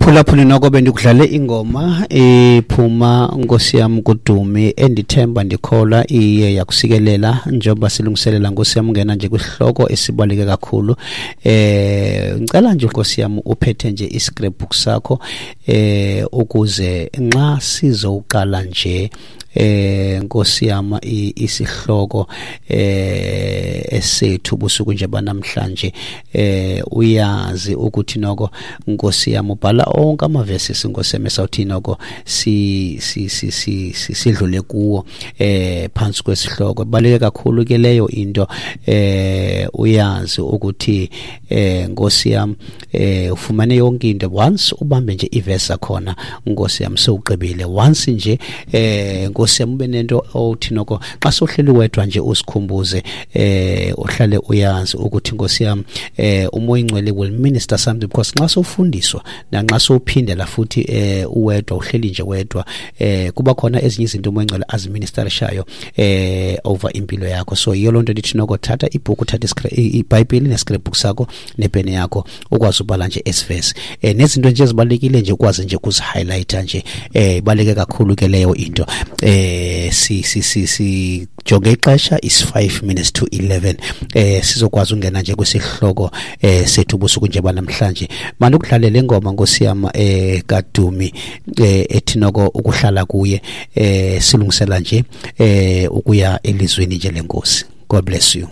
Mphulaphuli, noko bendikudlale ingoma ephuma, nkosi yam, kuDumi, endithemba ndikholwa iye yakusikelela njengoba silungiselela, nkosi yam, ungena nje kwisihloko esibaluleke kakhulu. Ngicela nje, nkosi yam, uphethe nje iscrapbook sakho ukuze nxa sizowuqala nje, nkosi yam, isihloko esethu busuku nje banamhlanje, uyazi ukuthi noko, nkosi yam, ubhala onke amavesi, nkosi yam, esawuthi noko si si si si sidlule kuwo phantsi kwesihloko. Ibaluleke kakhulu ke leyo into. Uyazi ukuthi, nkosi yam, ufumane yonke into once ubambe nje ivesi zakhona, nkosi yam, sewugqibile. Once nje, nkosi yam, ube nento othi noko xa sohleli wedwa nje usikhumbuze, uhlale uyazi ukuthi, nkosi yam, uMoya Ingcwele will minister something, because nxa sowufundiswa nanxa sowuphindela futhi uwedwa, uhleli nje wedwa, kuba khona ezinye izinto uMoya Ingcwele aziministerishayo over impilo yakho. So yiyo loo nto ndithi noko thatha ibhuku, thatha iBhayibhile nescrapbook sakho nepeni yakho, ukwazi ubhala nje esivesi nezinto nje ezibalulekile nje, ukwazi nje ukuzihighlighta nje. Ibaluleke kakhulu ke leyo into. Si si si si jonge ixesha is 5 minutes to 11. Sizokwazi ungena nje kwisihloko sethu ubusuku nje banamhlanje. Manje ukudlale le ngoma, nkosi yam, kaDumi, ethi noko "Ukuhlala Kuye", silungisela nje ukuya elizweni nje leNkosi. God bless you.